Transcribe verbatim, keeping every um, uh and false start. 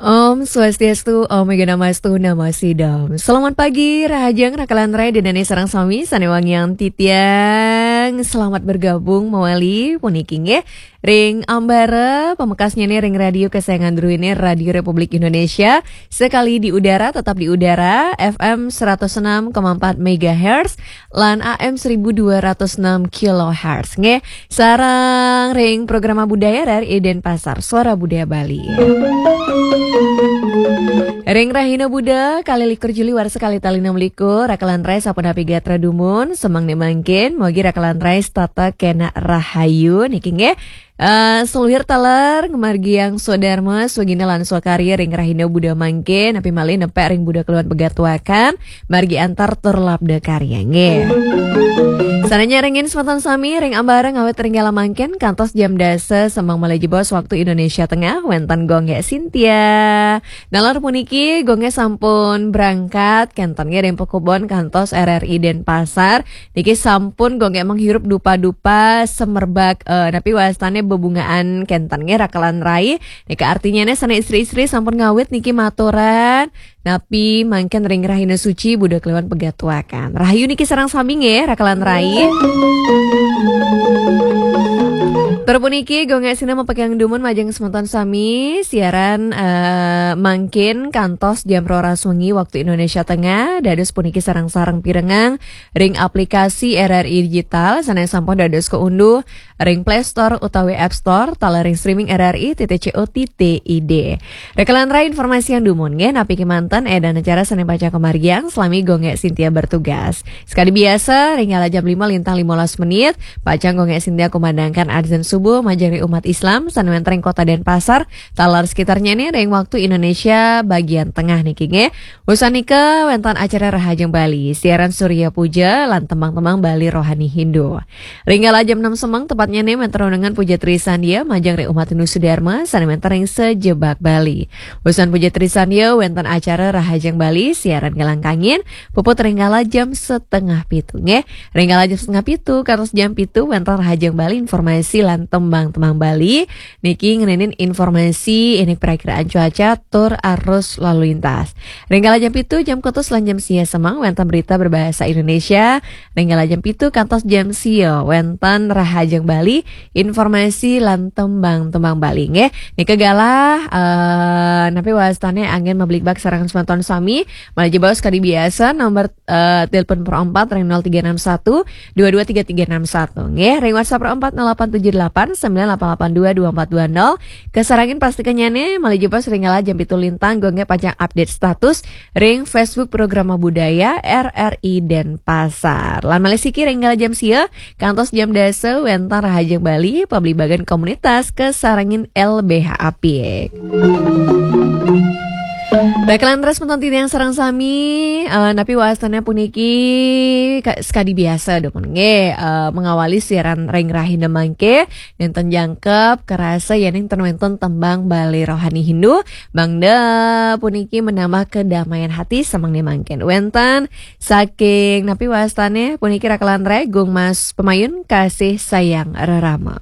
Om Swastiastu, Om Awighnamastu Namo Sidham. Selamat pagi, rahajeng rakalan rai, ida dané sareng sami sané wangiang titiang. Selamat bergabung mawali puniki nggih ring ambara pamekasnyané ring radio kesayangan druéné, Radio Republik Indonesia. Sekali di udara, tetap di udara, F M seratus enam koma empat megahertz lan A M seribu dua ratus enam kilohertz nggih. Sareng ring programa budaya R R I Denpasar, Suara Budaya Bali. Ring rahina Buda, kalih likur Juli warsa kalih tali enam likur, rakalan rai sapunapi gatra dumun, semeng né mangkin, mugi rakalan rai setata kénak rahayu niki nggih. Eh, saluhur taler ngamargiang swadarma, swagina lan swakarya ring rahina Buda mangkin, napi malih nepek ring Buda Kliwon Pegatuakan, margi antar tur labda karya nggih. Sareng nyarengin semeton sami ring ambara ngawit ring galah mangkin kantos jam dasa semeng malih jebos waktu Indonesia Tengah, wénten Gung Gék Sintia. Nalar puniki Gung Gék sampun berangkat, kénten nggih ring Pekubon kantos R R I Denpasar. Niki sampun Gung Gék menghirup dupa-dupa semerbak, eh, napi wastané bebungaan, kénten nggih rakalan rai. Niki artinyané sané istri-istri sampun ngawit niki maturan. Napi mangkin ring rahina suci Buda Kliwon Pegatuakan. Rahayu niki sareng sami nggih, rakalan rai. Tur puniki Gung Gék Sintia mapekayang dumun majeng semeton sami, siaran, eh, mangkin kantos jam roras wengi waktu Indonesia Tengah, dados puniki sareng-sareng pirengang ring aplikasi R R I Digital, sané sampun dados kaunduh ring Play Store utawi App Store, taler ring streaming R R I titik co titik I D. Rakalan rai, informasiang dumun nggih, napi kémanten édan acara sané pacang kamargiang, salami Gung Gék Sintia bertugas. Sekadi biasa, ring galah jam lima lintang limolas menit, pacang Gung Gék Sintia kumandangkan adzan subuh majeng ring umat Islam sané wénten ring Kota Denpasar, taler sekitarnyané ring waktu Indonesia bagian tengah niki nggih. Wusan nika wénten acara Rahajeng Bali, siaran Surya Puja lan tembang-tembang Bali rohani Hindu. Ring galah jam enam semeng tepatnyané wénten undangan Puja Trisandia majeng ring umat Hindu Sudarma sané wénten ring sajebag Bali. Wusan Puja Trisandia wénten acara Rahajeng Bali, siaran galah kangin, puput ring galah jam setengah pitu nggih. Ring galah jam setengah pitu kantos jam pitu wénten Rahajeng Bali, informasi lan tembang-tembang Bali. Niki ngenénin informasi indik perakiraan cuaca tur arus lalu lintas. Ring galah jam pitu, jam kutus lan jam sia semeng wénten berita berbahasa Indonesia. Ring galah jam pitu kantos jam sia wénten Rahajeng Bali, informasi lan tembang-tembang Bali nggih. Nika galah, eh, napi wastané anggén mabligbakat sareng semeton sami, malih jebos kadi biasa, nomor eh, telepon Pro empat ring nol tiga enam satu dua dua tiga tiga enam satu. Nggih, ring WhatsApp Pro empat nol delapan tujuh delapan sembilan delapan delapan dua dua empat dua nol. Kasarengin pastikannyané, malih jebos ring galah jam pitu lintang, Gung Gék pacang update status ring Facebook Programa Budaya R R I Denpasar. Lan malih siki ring galah jam sia kantos jam dasa wénten Rahajeng Bali, pabligbakan komunitas kasarengin L B H apik. Rakalan rai semeton titiang sareng sami, eh, napi wastané puniki ka-, sekadi biasa dumun nggih, eh, mengawali siaran ring rahina mangké, nénten jangkep karasa yéning ten wénten tembang Bali rohani Hindu, mangda puniki menambah kedamaian hati semeng né mangkin. Wénten saking napi wastané puniki rakalan rai, Gung Mas Pemayun, Kasih Sayang Rerama.